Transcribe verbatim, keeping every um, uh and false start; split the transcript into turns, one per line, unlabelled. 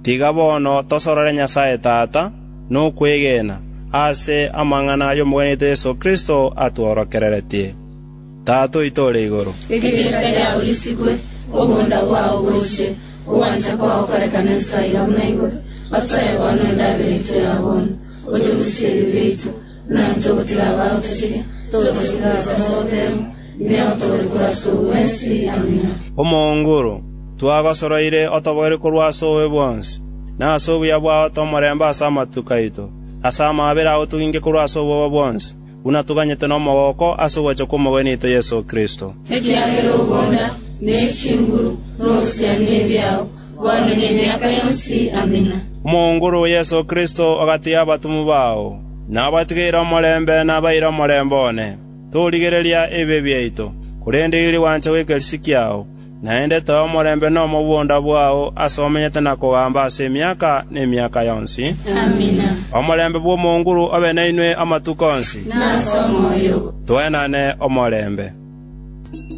Tiga bono tosorore Nyasae Tata, nokwegena, ase amang'ana y'Omogwenia Yeso Kristo atworokereretie. Tata oito ore igoro,
Erieta riao risigwe, obonda bwao boche, ogwancha kwao korekane ense iga buna igoro. Otoe bono endagera yaito ya bono, otorusie ebibe biaito, buna intwe togotiga abagotocheria, tototiga ase ogoteemwa, ne otoorie korwa ase obobe bwensi. Amina.
Omonguru, twagosoroire otobogere korwa ase obobe bwonsi, na ase obuya bwao tomorembe ase amatuko aito, ase amabera ao toginge korwa ase obwoba bwonsi, buna tuganyete nomogoko ase ogocha kw'Omogwenia Yeso Kristo.
Ekiagera obonda, nechinguru, n'obusiani ebiao, bono n'emiaka yonsi. Amina.
Omonguru Yeso Kristo ogatiga abatumu bao, nabatigeire omorembe nabaire omorembe one. Torigereria ebibe biaito, korende riria gwancha gw'ekerisi kiao, naende toe omorembe na omobonda bwao ase omenyete na kogamba ase emiaka n'emiaka yonsi.
Amina.
Omorembe bw'Omonguru obe nainwe amatuko onsi.
Nase omoyo.
Twenane omorembe.